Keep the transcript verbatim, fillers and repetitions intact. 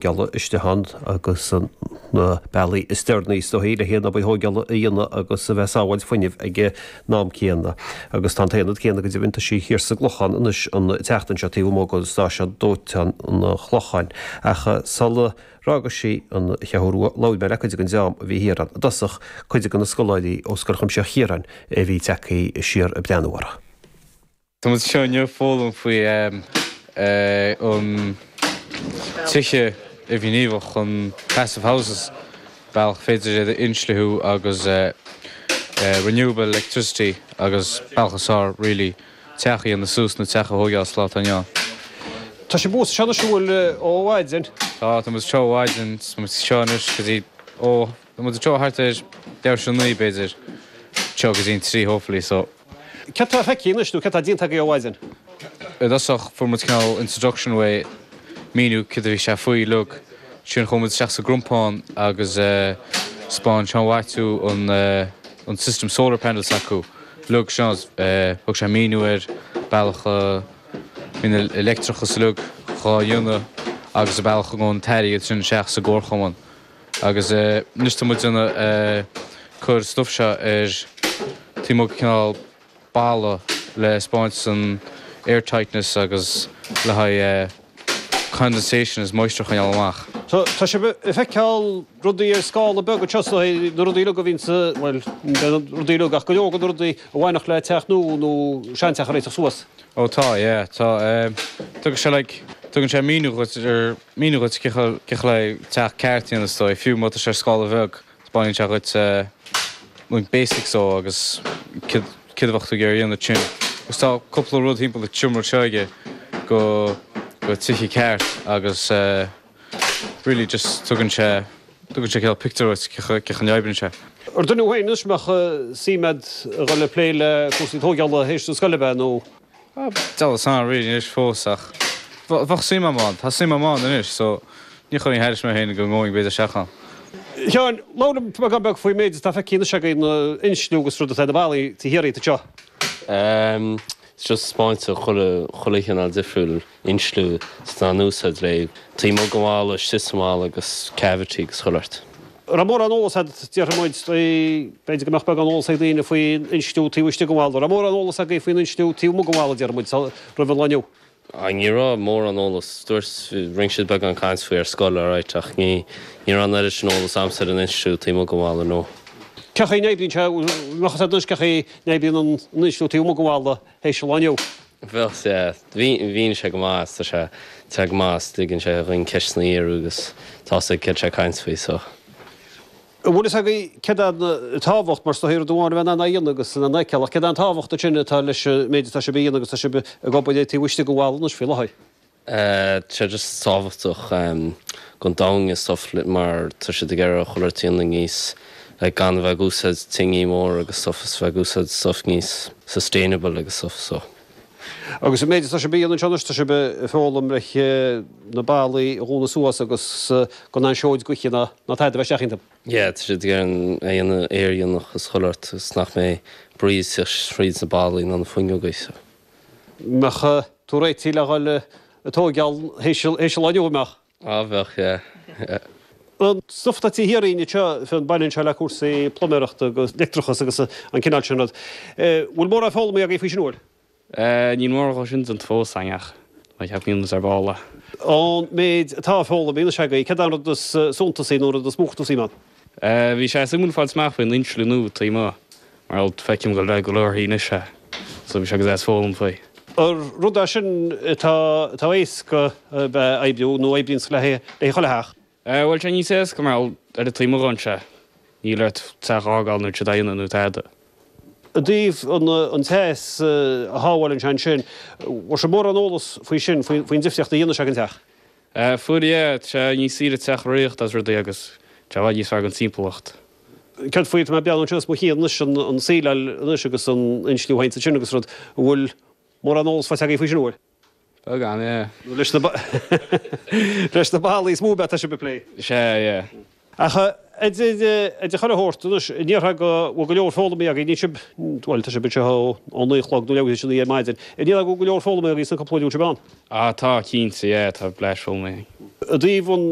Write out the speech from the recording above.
Gealla istigh ann agus na bealaí is deireanaí is dóichí le haon obair thógála a dhéanamh agus a bheith sábháilt fuinnimh ag an am céanna. Agus tá an t-aonad céanna go deimhin tá sí thiar sa gClochán anois an tseachtain seo taobh amuigh de stáisiún dóiteáin an Chlocháin. Ach sula bhfága sí an Cheathrú Rua labhair mé le cuid den dream a bhí thiar ann. I dtosach cuid de na scoláirí ó Scoil Chuimsitheach Chiaráin a bhí tagtha siar ag breathnú orthu. Tá muid anseo inniu foghlaim faoi an tithe imghníomhach an passive houses bealach féidir iad a insliú agus renewable electricity agus bealach is fearr really teach a dhéanamh suas nó teach a thógáil sa lá atá inniu ann. Tá sibh thuas anseo anois bhfuil ó mhaidin? Tá, tá muid anseo ó mhaidin, tá muid anseo anois go dtí ó tá muid anseo thart ar leathuair tar éis a naoi b'fhéidir, anseo go dtí an trí hopefully so. Céard tá feicthe anois nó céard tá déanta agaibh ó mhaidin? I dtosach fuair muid cineál introduction way míniú céard a bhí sé faoi uilig. Ansin chuaigh muid isteach sa gcompán agus 'spáin Seán Mhaitiú an an system solar panels acu uilig seo thug sé míniú ar bealach a mbíonn leictreachas uilig dhá dhéanamh agus an bealach a ngabhann an t-airgead sin isteach sa gcomharchumann. Agus anois tá muid ag cur stuif seo ar taobh amuigh cineál balla le 'spáint an air tightness agus le haghaidh condensation is moisture a choinneáil amach. So tá sibh ag feiceáil rudaí ar scála beag anseo so na rudaí uilig a bhíonn sa bhuel rudaí uilig ach go leor de na rudaí a bhainfeadh le teach nua nó seanteach a réiteach suas. Ó tá, yeah, tá tugann sé like tugann sé míniú dhuit ar míniú dhuit cé chaoi le teach ceart a dhéanamh is dóigh, fiú má tá sé ar scála bheag, 'spáineann sé dhuit like basics ó agus céard a bheadh tú ag iarraidh a dhéanamh sin. Agus tá cúpla rud thimpeall an tseomra seo aige go go tithe ceart agus really just tugann sé tugann sé cineál pictiúr duit cé chaoi a n-oibríonn sé. Ar duine thú féin anois a mbeadh suim agat a dhul ag plé le cúrsaí tógála théis na scoile ab ea nó? Deabhal 's ann really anois fós ach bheadh suim agam ann, tá suim agam ann anois so ní chuirfinn thairis mé féin go ngabhfainn b'fhéidir isteach ann. Sheáin, labhair liom beagán beag faoin méid atá feicthe anois againn, na insliú agus rud atá ar na ballaí taobh thiar díot anseo. It's just 'spáint chuile chuile chineál difriúil insliú atá in úsáid le taobh amuigh den bhalla, istigh sa mballa agus cavity agus chuile shórt. Raibh mórán eolas agat, déarfaidh muid, b'fhéidir go mbeadh beagán eolas ag daoine faoin insliú taobh istigh den bhalla. Raibh mórán eolas agaibh faoin insliú taobh amuigh den bhalla, déarfaidh muid, roimh an lá inniu. Ní raibh mórán eolas. Dúirt, rinne siad beagán caint faoi ar scoil, alright, ach ní, ní raibh an oiread sin eolas a'msa ar an insliú taobh amuigh den bhalla, no. Cé chaoi a n-oibríonn sé, bheadh fhios agat anois cé chaoi a n-oibríonn an insliú taobh amuigh den bhalla théis an lá inniu. Bheadh, yeah. Mhínigh sé go maith, tá sé, tá sé go maith, is ligeann sé dhuinn ceisteanna a iarraidh agus tá 'fhios ag céard tá sé ag caint faoi, so. An bhfuil fhios agaibh céard é an tábhacht, mar is dóichí rud amháin a bheith in ann é a dhéanamh agus in ann é a fheiceáil, ach céard é an tábhacht ansin atá leis an méid atá sibh a dhéanamh agus tá sibh ag obair air taobh istigh den bhalla anois faoi láthair? Tá sé just tábhachtach don domhan is stuff mar tá siad ag iarraidh chuile shórt a dhéanamh níos like gan a bheith ag úsáid tine mór agus stuff is bheith ag úsáid stuff níos sustainable agus stuff so. Agus an méid atá sibh a dhéanamh anseo anois, tá sibh ag foghlaim leis na ballaí a dhúnadh suas agus gan aon seoid gaoithe ná tada a bheith isteach iontu. Yeah, tá siad ag iarraidh a dhéanamh aerdhíonach is chuile shórt agus nach mbeidh brí ag teacht thríd na ballaí ná na fuinneogaí so. Mbeadh tú réitithe le dhul ag tóigeáil théis an lá inniu, an mbeadh? Á bheadh, yeah, yeah. An stuif atá taobh thiar dhínn anseo, fionn, baineann sé le cúrsaí pluiméireachta agus leictreachas agus an cineál sin rud. Bhfuil mórán foghlamtha agaibh faoi sin, an bhfuil? Níl mórán dhó sin déanta fós againn ach ceapaim go ar ball é. Ón méid atá foghlamtha anois agaibh, céard é an rud is suntasaí nó an rud is mó a chuir tú suim ann? Bhí sé suimiúil fáilt amach faoin insliú nua taobh amuigh mar feicim go go leor anois é so bhí sé go deas foghlaim faoi. Ar rud é sin atá atá éasca a bheith oibriú nó oibríonn le le chuile theach? Bhuel sé níos éasca mar ar an taobh amuigh dhonn sé. Níl ort teach a fhágáil nó troid a dhéanamh nó tada. I dtaobh an teas a shábháileann sé ansin, bhfuair sibh mórán eolas faoi sin, faoin difríocht a dhéanann sé don teach? Fuair, yeah. Tá sé níos saoire teach a riocht as rudaí agus tá sé i bhfad níos fearr don timpeallacht. Céard faoi, tá mé ag breathnú anseo os mo chionn anois, an síleáil anois agus an insliú féin ansin agus rud, an bhfuil mórán eolas faighte agaibh faoi sin, an bhfuil? Beagán, yeah. Leis na leis na ballaí is mó ab ea atá sibh ag plé? Sea, yeah. Ach Idir chuile shórt anois, an ndéarfá go bhfuil go leor foghlamtha agaibh, níl sibh, bhuel, tá sibh anseo ó naoi a chlog nó leathuair tar éis a naoi ar maidin, an ndéarfá go bhfuil go leor foghlamtha agaibh sna cúpla uair a bhfuil sibh ann? Ah tá cinnte, yeah, tá breis foghlamtha. I dtaobh an